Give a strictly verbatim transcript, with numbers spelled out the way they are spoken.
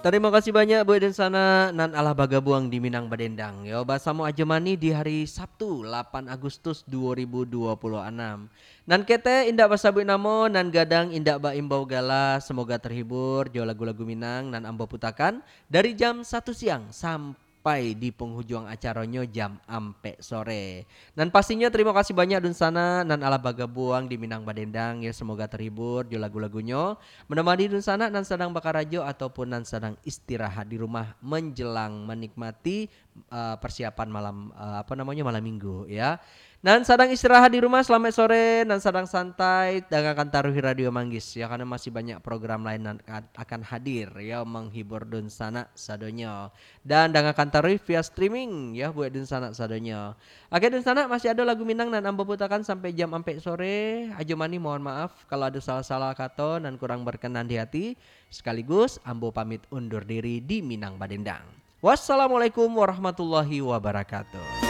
Tarimo kasih banyak buek dunsanak nan alah bagabuang di Minang Badendang, yo, basamo Ajo Mani di hari Sabtu, lapan Agustus duo ribu duo puluah anam. Nan ketek indak basabuik namo, nan gadang indak baimbau gala, semoga terhibur jo lagu-lagu Minang nan ambo putakan dari jam satu siang sampai di penghujung acaronyo jam ampek sore. Nan pastinyo, tarimo kasih banyak dunsanak nan alah bagabuang di Minang Badendang, yo, semoga terhibur jo lagu-lagunyo, menemani dunsanak nan sadang bakarajo ataupun nan sadang istirahat di rumah menjelang menikmati, eh, persiapan malam, eh, apa namonyo, malam minggu, ya. Nan sadang istirahat di rumah, selamat sore. Nan sadang santai, dangakan taruih Radio Manggis, ya, karena masih banyak program lain nan a-, akan hadir, ya, menghibur dunsanak sadonyo. Dan dangakan taruih via streaming, ya, buek dunsanak sadonyo. Oke, dunsanak, masih ado lagu Minang nan ambo putakan sampai jam ampek sore. Ajo Mani mohon maaf kalau ado salah-salah kato nan kurang berkenan di hati. Sekaligus ambo pamit undur diri di Minang Badendang. Wassalamualaikum warahmatullahi wabarakatuh.